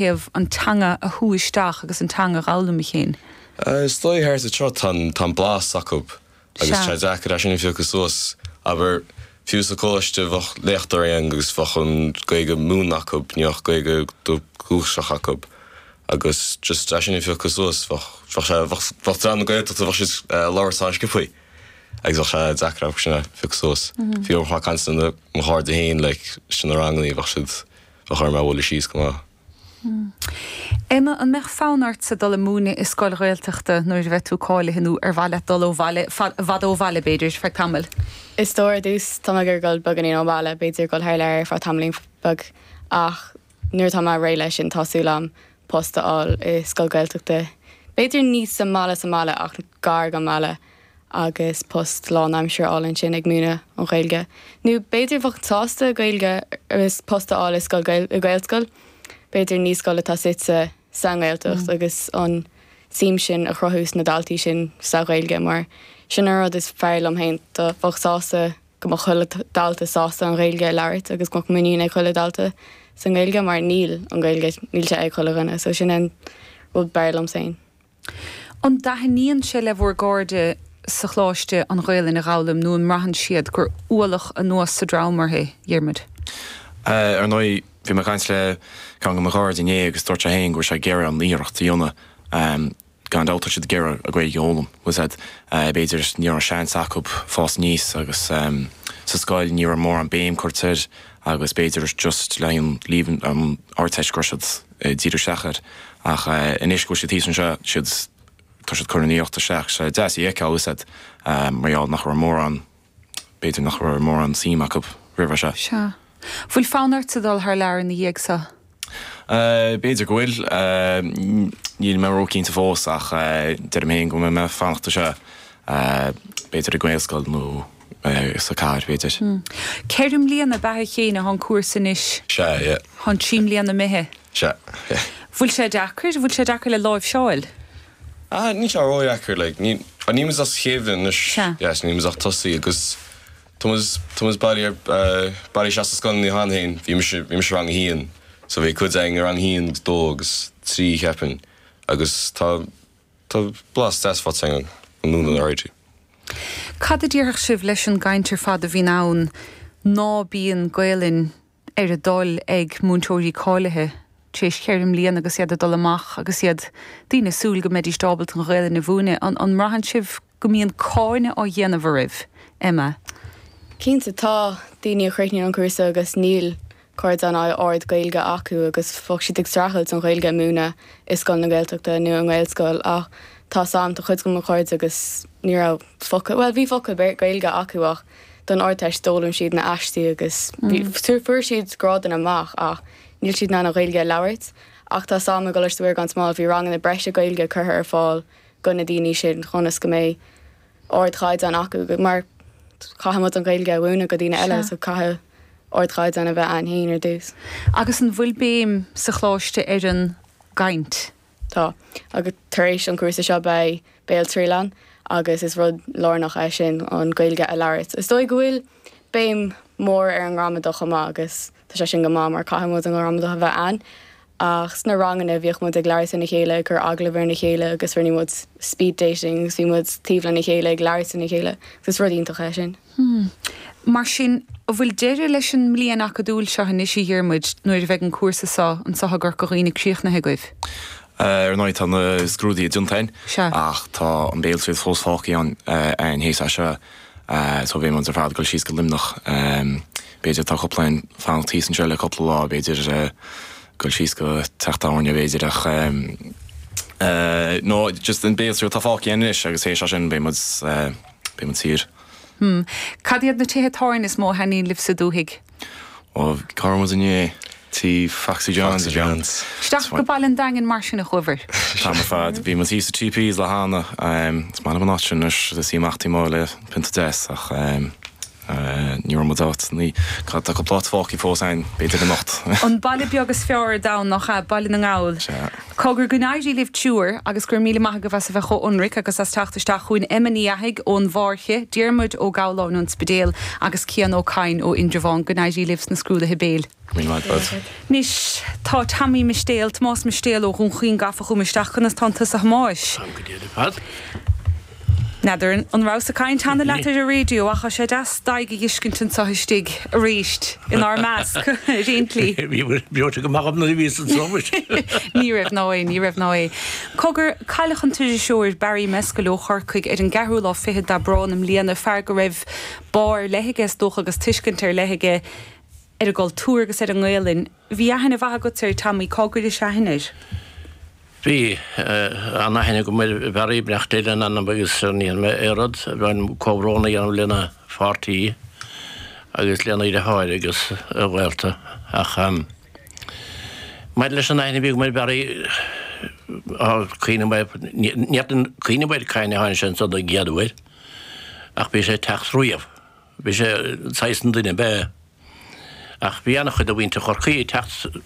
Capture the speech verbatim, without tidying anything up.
thaobh an teanga a shú isteach agus an teanga a fhoghlaim féin. Is dóigh thart anseo tá tá blas acu agus Sea. tá deacair é sin a phiocadh suas abair fiú sa choláiste bheadh léachtóirí ann agus bheadh an Ghaeilge múinte acu ní bheadh Gaeilge dúchasach acu agus just é sin a phiocadh suas bheadh bheadh sé bheadh bheadh dream na Gaeltachta bheadh siad eh, labhairt an-sciobtha agus bheadh sé deacair sin a phiocadh suas. Fiú ag caint le mo chairde féin like sin na ranganna bheadh siad bheadh orm a bhualadh síos go maith. Emma an mbeadh fonn ortsa dul ag múineadh i scoil Ghaeltachta nuair a bheidh tú cáilithe nó ar mhaith leat dul ó bhaile fad ó bhaile b'fhéidir feadh tamaill. Is dóigh ar dtús tá mé ag dul beagáinín ó bhaile b'fhéidir dul thar lear feadh tamaillín beag ach nuair atá mé réidh leis sin tá súil agam post a fháil i scoil Gaeltachta. B'fhéidir ní sa mbaile sa mbaile ach gar don mbaile agus post lánaimseartha a fháil ansin ag múineadh an Ghaeilge. Nó b'fhéidir bheadh sásta Gaeilge agus post a fháil i scoil Gael i Gaelscoil, b'fhéidir ní scoil atá suite sa nGaeltacht mm. agus an suim sin a chruthú sna daltaí sin sa Ghaeilge mar sin an rud is fearr liom féin do bheadh sásta go mbeadh chuile dalta sásta an Ghaeilge a labhairt agus go mbeadh muinín ag chuile dalta sa Ghaeilge mar níl an Ghaeilge níl sé ag chuile dhuine, so sin an rud b'fhearr liom féin. An dtaitníonn sé le bhur gcairde sa choláiste an Ghaelainn a fhoghlaim nó an mbraitheann siad gur ualach anuas sa dream orthu é Diarmuid. Ar ndóigh bhí mé ag caint le ceann de mo chairde inné agus dúirt sé féin go bhfuil sé ag iarraidh an iarracht a dhéanamh um, gan dabht siad ag iarraidh an Ghaeilge a fhoghlaim was that uh, b'fhéidir ní raibh seans acu fás aníos agus um, sa scoil ní raibh mórán béim curtha air agus b'fhéidir just le an líomh an Ardteist gur siad uh, díriú isteach air ach uh, anois go bhfuil siad thíos anseo siad tá siad chun an iarracht isteach sé deas é a fheiceáil um, mar nach raibh mórán b'fhéidir nach raibh mórán suim acu roimhe seo. Sea. Bhfuil fonn ort dul thar lear ina dhiaidh seo? Uh, B'fhéidir go bhfuil uh, níl mé róchinnte fós ach uh, deirim féin go mbeidh mé ag fanacht anseo uh, b'fhéidir i nGaelscoil nó uh, sa chathair b'fhéidir. Mm. Ceithre bliana beatha chéine an cúrsa anois Sea, yeah. Tá trí bliana imithe. Sea. yeah. Bhfuil sé deacair, bhfuil sé deacair le láimhseáil? Ah, ní sé ródheacair like ní an ní as chéimh Sea. yes, ní ach tosaí agus Thomas bailí bailí se scoil ní han hain bhí bhí mise rang a haon so bhí cuid againn rang a haon agus dó agus trí cheapaim agus tá tá blas deas faighte an nún an áirithe. Cad a déarfadh sibh leis an gcaint ar fad a bhíonn ann ná bíonn Gaelainn ar a dtoil ag múinteoirí cáilithe tar éis ceithre bliana agus iad ag dul amach agus iad daoine ag súil go mbeidís ábalta an Ghaelainn a mhúineadh an an mbraitheann sibh go mbíonn cáineadh á dhéanamh oraibh Emma. Cinnte tá daoine a chríochnaíonn an cúrsa agus níl caighdeán ard Gaeilge acu agus bheadh siad ag streachailt an Ghaeilge a mhúineadh i scoil na Gaeltachta nó i nGaelscoil ach tá sam tá chuid de mo chairde agus ní raibh focal well bhí focal Gaeilge acu ach don Ardteist d'fhoghlaim siad na haistí agus fuair siad grádanna amach ach níl siad in ann an Ghaeilge a labhairt ach tá sam a goiste gan smál bhí ranganna breise Gaeilge curtha ar fáil do na daoine sin chun go mbeidh ardchaighdeán acu mar caithfimid an Ghaeilge a mhúineadh do dhaoine eile so caithfidh ardchaighdeán a bheith againn féin ar dtús. Agus an bhfuil béim sa choláiste ar an gcaint. Tá agus tar éis an cúrsa seo beidh béaltriail ann agus is rud lárnach é sin an Ghaeilge a labhairt. Is dóigh go bhfuil béim mór ar an ngramadach amach agus tá sé sin go maith mar caithfimid an gramadach a bheith ann. Ach sna ranganna bhíodh muid ag labhairt lena chéile ag cur agallamh ar na chéile agus rinne muid speed dating agus bhí muid taobh lena chéile ag labhairt lena chéile, agus rud iontach é sin. Hmm. Mar sin an bhfuil deireadh leis an mbliain acadúil seo anois a Dhiarmuid nuair a bheidh an cúrsa seo anseo i gCorca Dhuibhne críochnaithe agaibh. Ar ndóigh tá na scrúduithe déanta againn Sea. ach tá an béaltriail fós fágtha ann an théis seo so bhí muid ar fad ag dul síos go Luimneach b'fhéidir tá cúpla ag fanacht thíos anseo le cúpla lá b'fhéidir dul síos go teach tábhairne b'fhéidir ach no just an béaltriail atá fágtha anois agus théis sin beidh muid beidh muid saor. Hmm. Cad iad na tithe tábhairne is mó a thaitníonn libh sa dúthaigh? Ó cá raibh muid inné tí Foxy Johns Foxy Johns. Isteach go Baile an Daingin mar sin a chuabhair. Tá mar fad bhí muid thíos sa TPs le hAnna is maith liom an áit sin anois is í amach taobh amuigh le pionta deas ach Ní raibh muid áit ní tá cúpla áit fágtha fós ann b'fhéidir anocht. An baile beag is fearr ar domhan nach ea Baile na nGall. Cogar go n-éirí libh triúr agus go raibh míle maith agaibh as a bheith chomh hionraic agus as teacht isteach chugainn Emma Ní Fhathaigh ón bhFáirche, Diarmuid Ó Gabhláin ón Spidéal agus Cian Ó Cadhain ó Indreabhán go n-éirí libh sna scrúduithe béil. Anois tá Tommy Mistéil, Tomás Mistéil ó Dhún Chaoin gafa chugam isteach conas tánn tusa a Thomáis. Táim go diail ar fad. N'fheadar an rabhas ag caint cheana leat ar an raidió ach tá sé deas d'aghaidh a fheiscint anseo istigh arís inár measc ar aon tslí. Bhí breoite go maith agam nuair a bhíos anseo muis. Ní raibh ná é, ní raibh ná é. Cogar, cailleadh an t-iriseoir Barry Mescall ó Chorcaigh ar an gceathrú lá fichead d'Aibreán i mbliana, fear go raibh bá ar leith aige is dócha agus tuiscint ar leith aige ar an gcultúr agus ar an nGaelainn. Bhí aithne mhaith agat air, Tommy, cá gcuiris aithne air? Bhí an-aithne agam ar Bharry, beannacht Dé lena anam agus ní dhéanfaidh mé aon rud a bheinn comhbhrón a dhéanamh lena pháirtí agus lena dheartháir agus a ghaolta. Ach maidir leis an aithne a bhí agam ar Barry, cuimhním ní fhéadfainn cuimhneamh air cathain a tháinig sé anso don gcéad uair, ach bhí sé ag teacht riamh. Bhí sé saghas an duine ab ea. Ach bhí an-chuid de mhuintir Chorcaí ag teacht go.